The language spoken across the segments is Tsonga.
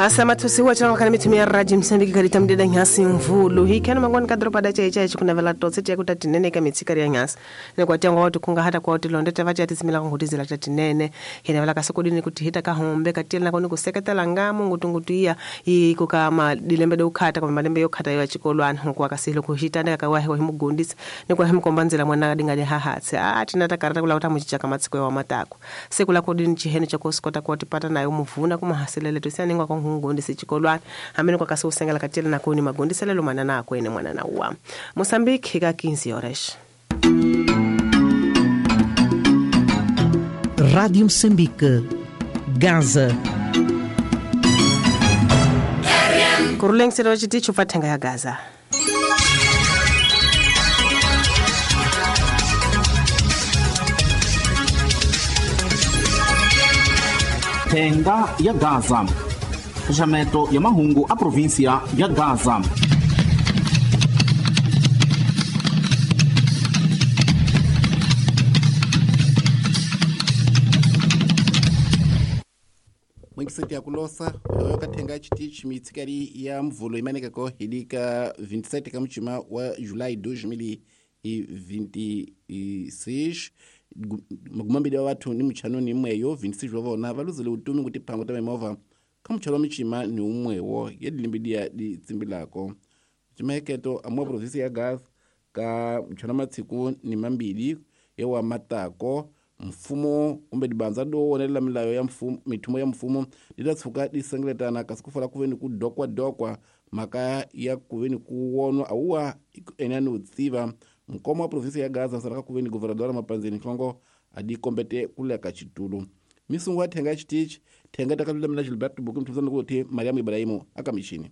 Asamathusiwa tshana kana mithu ya radio Msambiki kalita mdeda nyasi mvulu hikana mangwani ka dropa da chai chai chikunavela totse tia kuta tinene ka mitsikari ya nyasi ne kwa tiango watu kunga hata kwa utilonde tavati atisimila ngutizila tatinene hinavela kasokodini kuti hita ka hombe katila koni kuseketela ngamo ngutungutu iya iko kama dilembe do khata kwa malembe yokhata yo chikolwana kwa kasilo kuhitanda kawahe kwa himugundisa ne kwa himkombanzela mwana dinga hahatse a tinata karata kula utamuchichaka matsiko ya matako sekula kodini chihene chakosikota kwa tipata nayo muvuna kumahaselele tusianingwa kwa ngundisi chikolwana amene kwa kaso usengela katila nakoni magundiselelo manana akwene mwana na uwa Mozambique ka 15 horas. Rádio Moçambique, Gaza. Kuruleng sero chiticho pathenga ya Gaza. Thenga ya Gaza. Xaxameto ya mahungu a província ya Gaza. Mwingiseti ya kulosa oyo kathenga chitichi mitsikari ya mvulo imanekako hilika 27 ka muchima wa Julai 2026 magumambili wa watu ni muchano ni mweyo 26 wavona valuzile utumi kuti phango ta mimovha ka muchano wa michima ni umwewo yadilimbidia di tsimbilako chimaheketo amwa provinsi ya Gaza ka muchano matsiku ni mambili yewa matako mfumo kumbe dibanza do wonelela milayo ya mfumo mithumo ya mfumo ditatshuka disengeletana kasi kufala kuveni ku dokwa mhaka ya kuveni ku wonwa awuwa enani utsiva mkomo wa provinsi ya Gaza saraka kuveni governadora Mapanzini Nhlongo adikombete kuleka chitulu misungu ya thenga chitichi thenga takalulamela Gilberto Buku mthusana kuti Mariam Ibrahimu akamishini.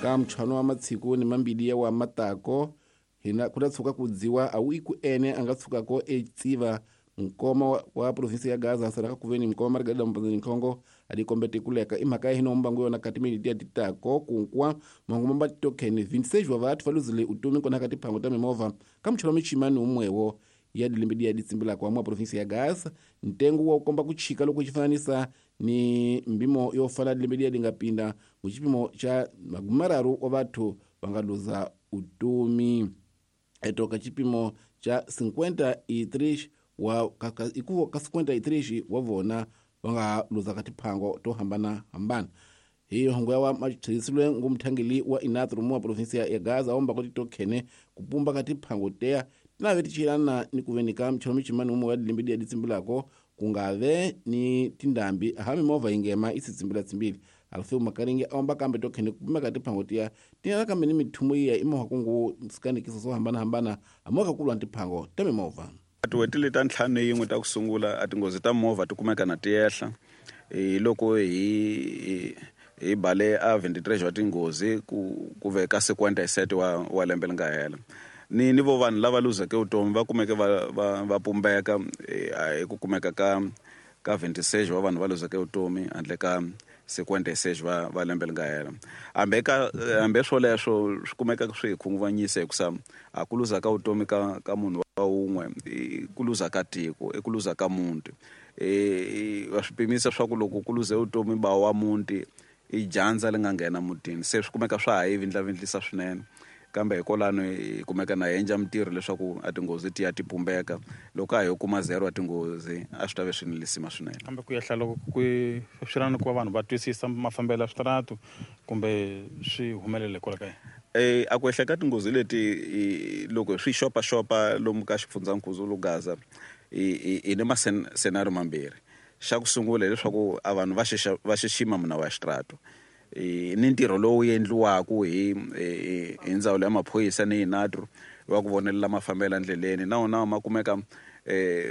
Ka mchano wa matsiku ni mambili ya wa matako hina kutatsuka kudziwa au iku ene angatsukako etsiva mkoma wa provinsi ya Gaza saraka kuveni mkoma Margarida Mpanzini Nhlongo adikombete kuleka imhaka hino mbangu yona kati militi ya titako kunkwa mangu mamba tokeni 26 wa vathu valuzile utumi kona kati phango ta mimovha ka mchano michimani umwewo ya dilimbidi ya ditsimbila kwa mwa provinsi ya Gaza ntengo wa ukomba kuchika loko chifananisa ni mbimo yofala dilimbidi ya dingapinda muchipimo cha magumararu wa vathu vangaluza utumi etoka chipimo cha 53 wa ikuvo ka 53 wa vona vangaluza ka tiphango to hambana hambana hiyo hongo ya wa machisilwe ngumthangeli wa Inatru wa provinsi ya Gaza omba kuti tokhene kupumba ka tiphango teya tinave tichilana ni kuvenika mchano michimani umwe wa dilimbidi ya ditsimbilako kungave ni tindambi ahami mova ingema isitsimbila tsimbili alfeu makaringe aomba kambe tokhene kupuma ka tiphango tiya tinala kambe ni mithumo iya imoha kungu sikanikisa so hambana hambana amoka kulwa ntiphango ta mimovha. Tin'hweti leti ta ntlhanu yin'we ta ku sungula a tinghozi ta movha ti kumeka na ti ehla hi loko hi bale a 23 wa tinghozi ku veka 57 wa lembe leri nga hela ni vo vanhu lava luzeke vutomi va kumeke va pumbeka hi ku kumeka ka 26 wa vanhu va luzeke vutomi handle ka 56 va lembe leri nga hela hambe swoleswo swi kumeka swi hi khunguvanyisa hikusa a ku luza ka vutomi ka munhu wa wun'we i ku luza ka tiko i ku luza ka muti va swi pimisa swa ku loko ku luze vutomi ba wa muti i dyandza leri nga nghena mutini se swi kumeka swa ha yi vindlavindlisa swinene kambe hikwalano hi kumeka na endla mintirho leswaku a tinghozi ti ya ti pumbeka loko a hi kuma zero a tinghozi a swi ta ve swi ni lisima swinene. Kambe ku ehla loko ku swi na ku va vanhu va twisisa mafambelo ya switaratu kumbe swi humelele kwala ka yini? A ku ehla ka tinghozi leti loko swi xopaxopa lomu ka xifundzankulu Gaza hi ni masenario mambirhi. Xa ku sungula hileswaku a vanhu va xixima minawu ya xitaratu ni ntirho lowu endliwaka hi ndzawulo ya maphorisa ni Inatru wa ku vonelela mafambelo endleleni na wona ma kumeka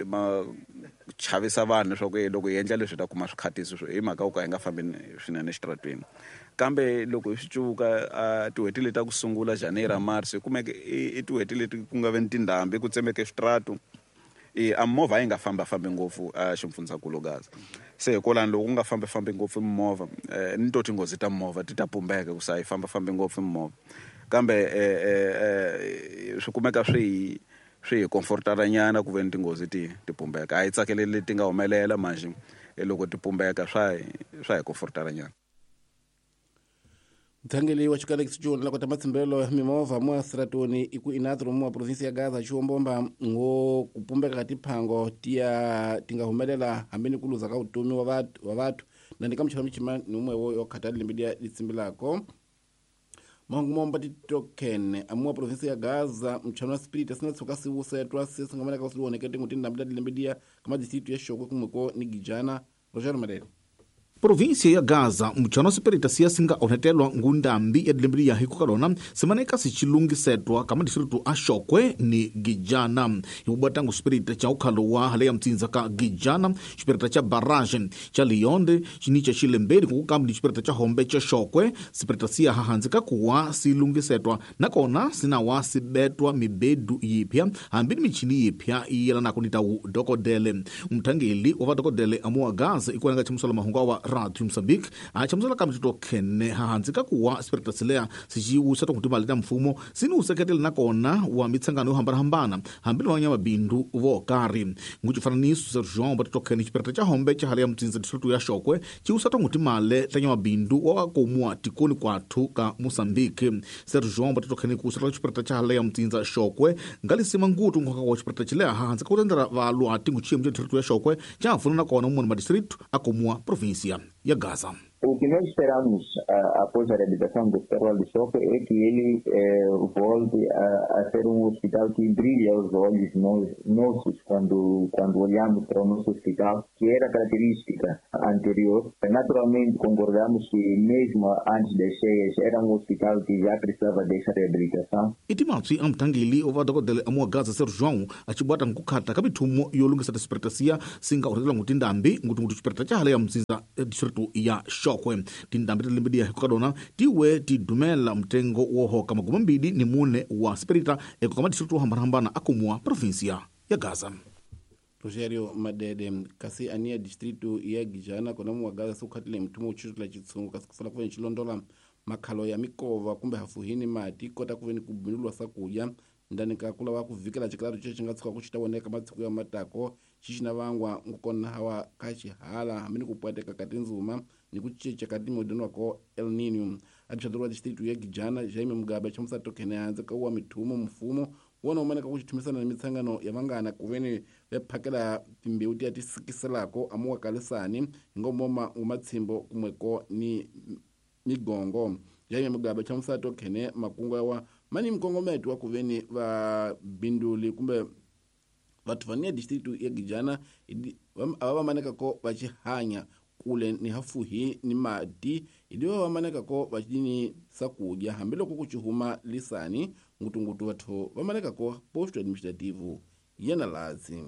ma chavisa vanhu leswaku loko hi endla leswi hi ta kuma swikhatisi hi mhaka yo ka hi nga fambi swinene exitarateni. Kambe loko hi swi cuka a tin'hweti leti ta ku sungula January March hi kumeke i tin'hweti leti ku nga ve ni tindhambi ku tsemeke switaratu a movha yi nga fambafambi ngopfu a xifundzankulu Gaza se hikwalano loko ku nga fambafambi ngopfu mimovha ni to tinghozi ta mimovha ti ta pumbeka ku sa yi fambafambi ngopfu mimovha kambe Swi kumeka swi hi comfortara nyana ku veni tinghozi ti pumbeka. A hi tsakeleli leti nga humelela manje loko ti pumbeka swa hi comfortara nyana. Mutshangeli wa xikalekisi xo la kota matsimbelo ya mimovha mo Stratoni i ku inatro mo province ya Gaza xiwombomba ngo ku pumbeka ka tiphango tiya ti nga humelela hambi ni ku luza ka vutomi wa vathu na ni ka muchava michima ni umwe wo yo khata lembe liya litsimbilako. Mahungu momba titoken amuwa province ya Gaza mchano wa spirit asina tshuka siwusetwa sisingamaneka kusiwoneke tingu tindhambi ta lembe liya ka madistritu ya Xokwe kumweko ni Gijana. Roger Madele. Província ya Gaza mchano sipirita siya singa onhetelwa ngundambi ya dilembe ya hikukalona simaneka sichilungisetwa kama distritu a Xokwe ni Gijana. Hibubatangu sipirita cha ukhalo wa hale ya mtsinza ka Gijana, xipirita cha barrage cha Lionde chinicha xilembeni kukukambi ni xipirita cha Hombe cha Xokwe. Sipirita siya hahanzi kakuwa silungisetwa nakona sinawa sibetwa mibedu yipya hambi ni michini yipya iyelanako ni tawu dokodele. Mthangeli wa vadokodele amuwa Gaza ikuenanga chimusala mahungu wa Radio Mozambique a chamusela kambe titokhene hahanzi kakuwa sipirita silea sichiwusa tonkutimali ta mfumo sini useketele nakona wa mitsangano yo hambanahambana hambi ni vanyamabindu vo karhi. Nguchifananiso Sergio vatitokhene xipirita cha Hombe cha hale ya mtsinza distritu ya Xokwe ciwusa tonkutimale ta nyamabindu wa vakomuwa tikoni kwathu ka Mozambique. Sergio vatitokhene kuusela xipirita cha hale ya mtsinza Xokwe ngalisima ngutu nkoka wa xipirita chilea hahanzi kakutendela valwati nguchiyemu cha distritu ya Xokwe cha pfuna nakona mumwe madistritu akomuwa província ya Gaza. O que nós esperamos após a reabilitação do Hospital de Chokwe é que ele volte a ser um hospital que brilha aos olhos nossos quando olhamos para o nosso hospital, que era característica anterior. Naturalmente, concordamos que mesmo antes das cheias era um hospital que já precisava dessa reabilitação. Itimatsi amthangeli wa dokodele amuwa Gaza Sergio João achibwata nkukhata ka mithumo yo lungisa tisipiritasia singa urhetela ngutindambi nguti xipirita cha hale ya mtsinza distritu ya Xokwe. Tindhambi ta lembe liya hikukadona tiwe tidumela mtengo wo hoka 24 wa sipirita eko kama distritu hambanahambana akumua provinsia ya Gaza. Rogerio Madede kasi ania distritu ya Gijana kona muwa Gaza sukhatile mthumo uchitula chitsungu kasi kufana kuveni chilondola makhalo ya mikova kumbe hafuhini mati kota kuveni kubinulwa sakuya ndani ka kula wa kuvikela chikalatu che chingatsuka kuchita woneka matsiku ya matako xixina vangwa ngukona hawa ka xihala hambi ni ku pwateka ka tindzuma ni ku cinca ka timodeni wako El Nino. Administrador wa distritu ya Gijana Jaime Mugabe chamusa tokhene hanze ka wa mithumo mfumo wona umaneka ku xithumisana ni mitsangano ya vangana kuveni vephakela timbewu tiya ti sikiselako amuwa kalisani hi ngomoma ngumatshimbo kumweko ni migongo. Jaime Mugabe chamusa tokhene makungu yawa mani mkongometo wa kuveni va binduli kumbe vathu vania distritu ya Gijana ava vamaneka ko vachihanya kule ni hafuhi ni mati idiwa vamaneka ko vachini sakudya hambiloko kuchihuma lisani ngutungutu vathu vamaneka ko posto administrativo yena lazi.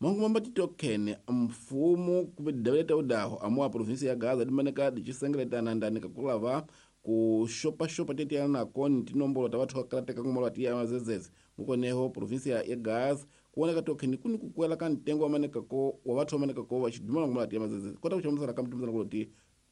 Mahungu mamba titokhene mfumo kumbe daweta udaho amuwa provinsi ya Gaza dimaneka dichisengeletana ndani kakulava ku xopaxopa tetiana nako ni tinombolo ta vathu va ngomalo tiya mazezeze ngukoneho provinsia ya Gaza kuoneka tokheni kuni kukwela ka ntengo wa maneka ko wa vathu va maneka ko va xidumela ngomalo tiya mazezeze kota ku chamusela ka mtumisana kuloti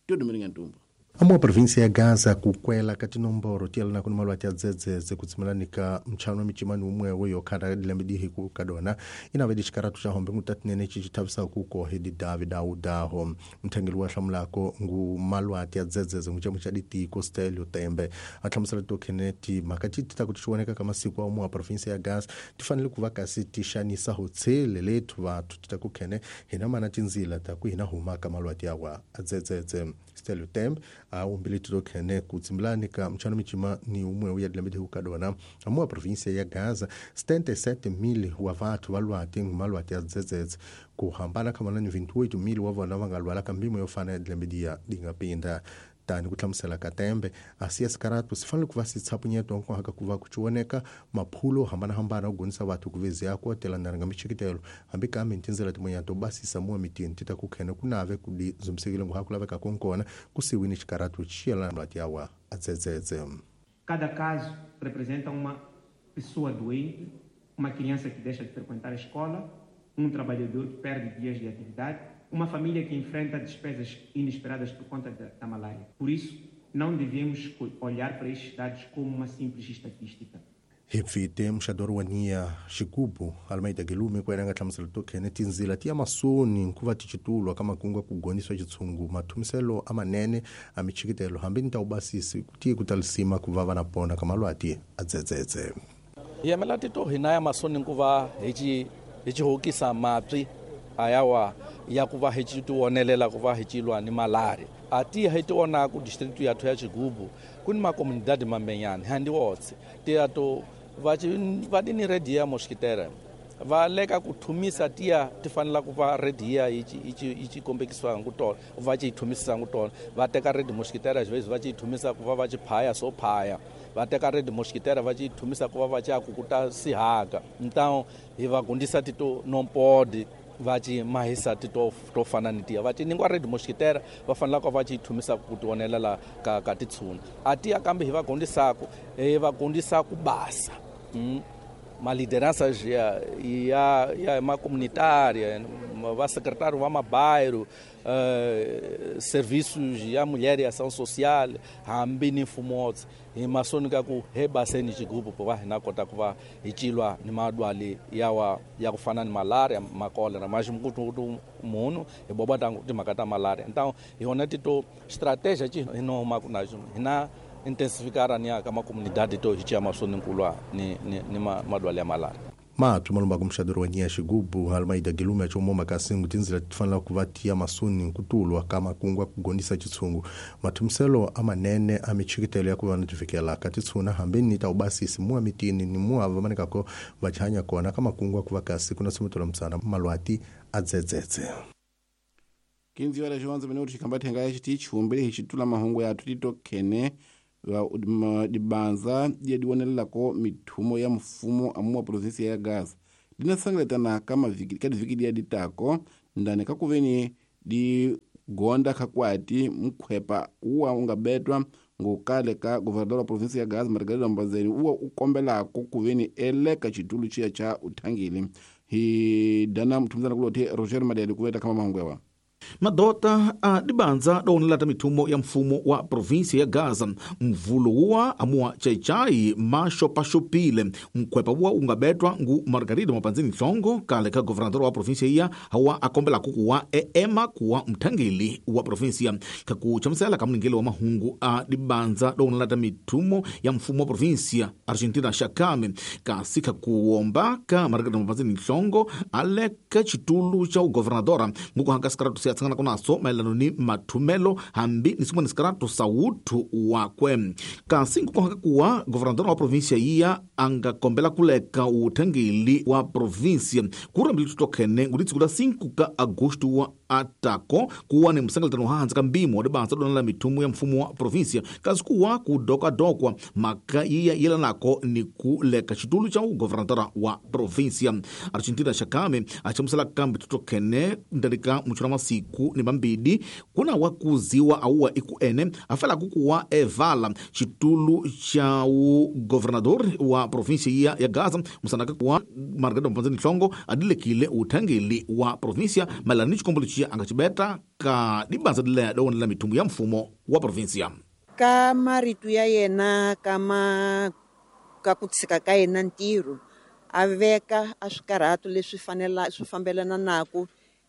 tiodumelinga ntumbu. Amuwa província ya Gaza kukwela ka tinomboro tiyelana kuni malwati ya dzedzedze kutsimilani ka mchano wa michimani umwewe yokhata dilembe dihi kukadona inave dixikaratu xa Hombe ngutatinene xixithavisa kukohe didavi dawudaho. Mthangeli wa hlamulako ngu malwati ya dzedzedze ngucemu xa ditiko Stelio Tembe a hlamusela tokhene timhaka ti ta ku ti xioneka ka masiku amuwa província ya Gaza ti fanele ku va kasi ti xanisa hotshele lethu vathu ti ta ku khene hina mana tindzila ta ku hina humaka malwati yawa a dzedzedze. Stelio Tembe a umbili tokhene kutsimbilani ka mchano michima ni umwe ya dilembe hukadona amuwa província ya Gaza 77,000 wa vathu valwati ngumalwati ya dzedzedze kuhambana khamana ni 28,000 wa vona va nga lwala ka mbimo yo fana ya dilembe diya dingapinda. Tani ku hlamusela ka Tembe asiya sikaratu swi fanele ku va si tshapunyeto nkohaka ku va ku cioneka maphulo hambanahambana ku gonisa vathu ku veziya ku telanana nga michikitelo hambi kambe ni tindzela tin'wanyana to basisa muwa mitini ti ta ku khene ku nave ku di zumsekile nguha ku laveka konkona ku siwini xikaratu xi yelana malwati yawa a dzedzedze. Cada caso representa uma pessoa doente, uma criança que deixa de frequentar a escola, um trabalhador que perde dias de atividade, uma família que enfrenta despesas inesperadas por conta da malária. Por isso, não devemos olhar para estes dados como uma simples estatística. Hi pfite muxadori wa niya xigubu Almeida Gelume ku nga hlamusela tokhene tinzila ti ya masoni ku va ti citulwa ka makungu ku gonisa xitshungu mathumiselo amanene a michikitelo hambi ni ta ubasisi ti ku talisima ku va vana pona ka malwati a dzedzedze. Hi yemela tito hina ya masoni ku va hi ci hokisa mapyi ayawa ya ku va hi ci tionelela ku va hi cilwa ni malaria. A ti hi tiona ku district ya ya Xigubu ku ni makomunidade mambenyana handi wotse ti ya to va ti ni redia mosquitera va leka ku thumisa tiya ti fanela ku va redia yi ci kombekisiwa ku tona va ci thumisisa ku tona va teka red mosquitera xivezi va ci thumisa ku va va ci phaya so phaya va teka red mosquitera va ci thumisa ku va va ci akukuta sihaka. Então hi va gundisa tito nompodi va ci mahisa ti to fana ni tiya va ci ningwa red mosquitera va fanela ku va ci thumisa ku tionelela ka titshuna. A tiya kambe hi va gundisa ku basa ma liderança ya ma comunitária, va secretário va mabairro, serviços ya mulher e ação social, hambi ni mfumo hi masoni ka ku he baseni xigubu va hina kota ku va hi cilwa ni madwali yawa ya ku fana ni malaria, makolera maximkutu munhu hi boba ta timhaka ta malaria. Então hi yona tito estratégia ci hi no huma ku na hina intensificar ni ka makomunidade to hi cia masoni nkulwa ni madwali ya malaria. Mapyi malumba ku muxadori wa niya xigubu Almeida Gelume chomo makasingu tinzila ti fanela ku va tiya masoni ku tulwa ka makungu ku gondisa xitshungu mathumiselo amanene a michikitelo ya ku va na tivikela ka titshuna hambi ni ta ubasisi muwa mitini ni muwa va manekako va chanya kona ka makungu ku va kasi ku na sumitelo mtsana malwati a dzedzedze. 15 horas 11 minutos xikhamba thenga ya xiti chumbile hi xitula mahungu ya tito khene dibanza dia dionelelako mithumo ya mfumo amuwa provinsia ya Gaza dinasangaletana ka diviki dia ditako ndani kakuveni di gonda kakwati mkhwepa uwa ungabetwa ngokale ka governador wa provinsia ya Gaza Margarida Mbazeni uwa ukombelako kuveni eleka chitulu chia cha uthangile. Hi dana mthumzana kulote Roger Madeli kuveta kama mahungu yawa. Madota a dibanza doonelata mithumo ya mfumo wa provinsia ya Gaza mvulo wuwa amuwa chaichai maxopaxopile mkhwepa wuwa ungabetwa ngu Margarida Mapanzini Nhlongo kale ka governador wa provinsia iya hawa akombelaku kuwa eema kuwa mthangeli wa provinsia kakuchamisela ka mningeli wa mahungu a dibanza doonelata mithumo ya mfumo wa provinsia Argentina Shakame kasi kakuwomba ka Margarida Mapanzini Nhlongo aleka chitulu cha ugovernadora ngukuhanga sikaratu siyatsangana kunaso maelano ni mathumelo hambi ni sin'wana sikaratu sa wuthu wakwe kasi nkukohaka kuwa governador wa provinsia iya anga kombela kuleka uthangeli wa provinsia kurambile tutokhene ngulitsikula 5 ka agosto wa atako kuwa ni msangaletano hahansi ka mpimo wa dibanza donela mithumo ya mfumo wa provinsia kasi kuwa kudokadokwa maka iya yelanako ni kuleka xitulu xa ugovernadora wa provinsia Argentina Shakame achamusela kambe tutokhene ndani ka muchuna masiku ni mambidi kuna wakuziwa auwa iku ene afela kukuwa evala xitulu xa ugovernador wa provinsia ya Gaza musanaka kuwa Margarida Mpanzini Nhlongo adilekile uthangeli wa provinsia maelana ni xikombelo xiya anga xibeta ka dibanza dileya dowonela mithumo ya mfumo wa provinsia. Ka marito ya yena kama ka ku tshika ka yena ntirho a veka a swikarhato leswi fanela swi fambelana naku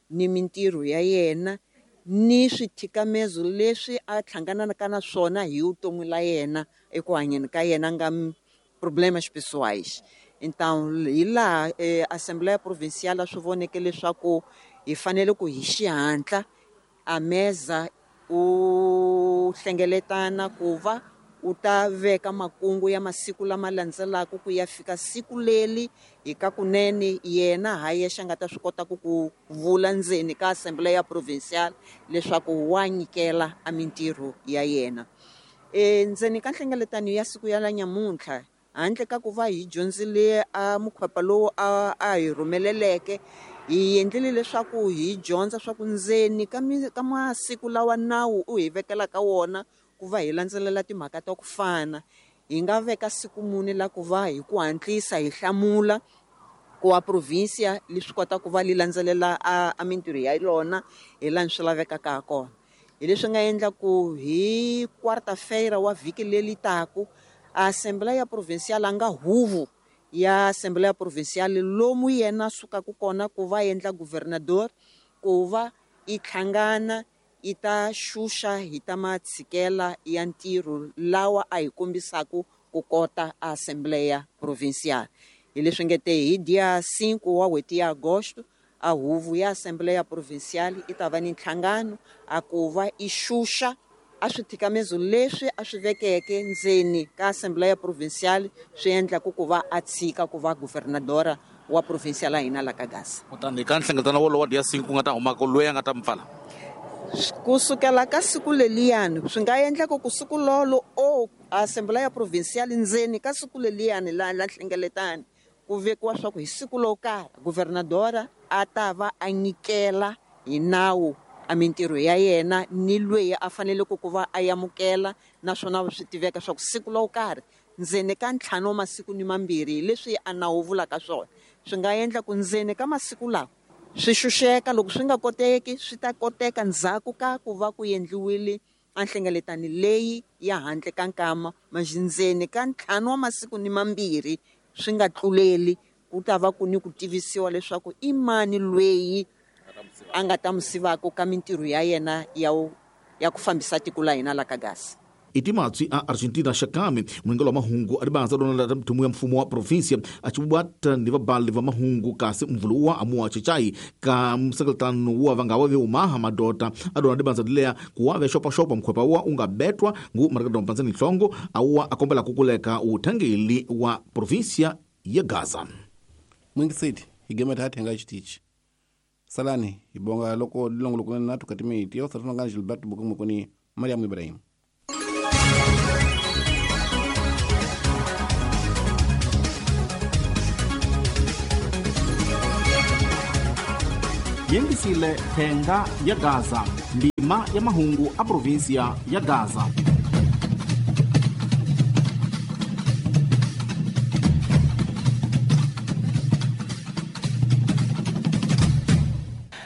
ni mintirho ya yena ni swithikamezo leswi a hlanganaka na swona hi vutomi la yena eku hanyeni ka yena nga problemas pessoais. Então hi laha Assembleia Provincial swi voneke leswaku hi fanele ku hi xihatla a meza u hlengeletana ku va u ta veka makungu ya masiku lama landzelaka ku ya fika siku leri hi ka kunene yena ha yexe a nga ta swi kota ku vula ndzeni ka Assembleia Provincial leswaku wa nyikela a mintirho ya yena. Ndzeni ka nhlengeletano ya siku ya la nyamuntlha handle ka ku va hi dyondzile a mukhwepa lowu a hi rhumeleleke hi endlile leswaku hi dyondza swa ku ndzeni ka masiku lawa nawu u hi vekelaka wona ku va hi landzelela timhaka ta ku fana hi nga veka siku muni la ku va hi ku hatlisa hi hlamula ku wa provinsia leswi kota ku va li landzelela a mintirho ya yona hi laha swi lavekaka ha kona. Hi leswi nga endla ku hi quarta-feira wa vhiki leri taku A Assembleia Provincial a nga huvo ya Assembleia Provincial lomu yena sukaka kona ku va endla governador, ku va i hlangana i ta xuxa hi ta matshikela ya ntirho lawa a hi kombisaka ku kota a Assembleia Provincial. Hi leswi nge te hi dia 5 wa n'hweti ya Agosto a huvo ya Assembleia Provincial i ta va ni nhlangano a ku va i xuxa a swithikamezo leswi a swi vekeke ndzeni ka Assembleia Provincial swi endlaku ku va a tshika ku va governadora wa provincia la hina la ka Gaza. Kutani ka nhlengeletano wolowo wa dia 5 ku nga ta humaka loyi a nga ta mi pfala? Kusukela ka siku leliyani swi nga endleka ku siku lolo o Assembleia Provincial ndzeni ka siku leliyani la nhlengeletano ku vekiwa swa ku hi siku lo karhi governadora a ta va a nyikela hi nawu a mintirho ya yena ni lweyi a faneleke ku va a amukela, naswona swi tiveka swa ku siku lo karhi ndzeni ka 5 wa masiku ni 2 leswi a nawu vulaka swona. Swi nga endla ku ndzeni ka masiku lawa swi xuxeka, loko swi nga koteki swi ta koteka ndzhaku ka ku va ku endliwile a nhlengeletano leyi ya handle ka nkama, ndzeni ka 5 wa masiku ni 2 swi nga tluleli, ku ta va ku ni ku tivisiwa leswaku i mani lweyi a nga ta musivaka ka mintirho ya yena ya ku fambisa tiko la hina la ka Gaza. I timatswi a Argentina xakami muringelo wa mahungu a ribanza lona la mthumu ya mfumo wa provinsia a chibwata ni vabali va mahungu kasi mvulu wa amuwa chechai ka msengeletano wa vanga wa veumaha madota a dona ribanza dileya ku wa vexopaxopa mkhwepa wa unga betwa ngu marekado mpanzani nhlongo awa akombela kukuleka uthangeli wa provinsia ya Gaza. Mwingiseti higema tati nga xitichi. Salani ibonga loko lilongolo na tukatimiti yo satuna Gilbert Bukumu kuni Mariam Ibrahim. Yengisile thenga ya Gaza, ndima ya mahungu a provinsia ya Gaza.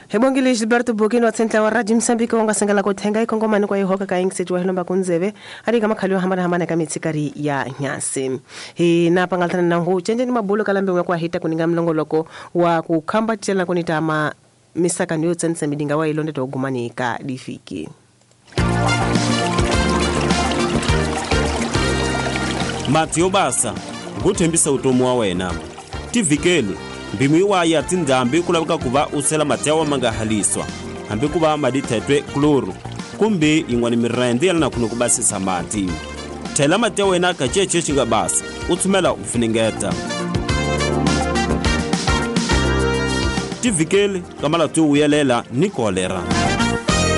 Hebongile Gilberto Bokino tsentla wa Radio Mozambique wonga sengela ko thenga ikongomani kwa ihoka ka ingseji wa hilomba kunzeve ari ka makhali yo hambana hambana ka mitsikari ya nyasi. Hi na pangaltana na ngu chenje ni mabulo kalambe wa kwa hita kuninga mlongoloko wa kukhamba tshela kunitama misaka niyo tsense midinga wa ilonde to gumani ka difiki. Mathiyo basa nguthembisa utomi wa wena tivikeli mbimu iwa ya tindhambi ku laveka ku va u sela mati ya ma nga haliswa hambi ku va madithetwe kloro kumbe yin'wana mirende ya lana kuno ku basisa mati. Thela mati ya wena ka cece xi nga basa u tshumela u funengeta. Tivikeli ka malati yo vuyelela ni kolera.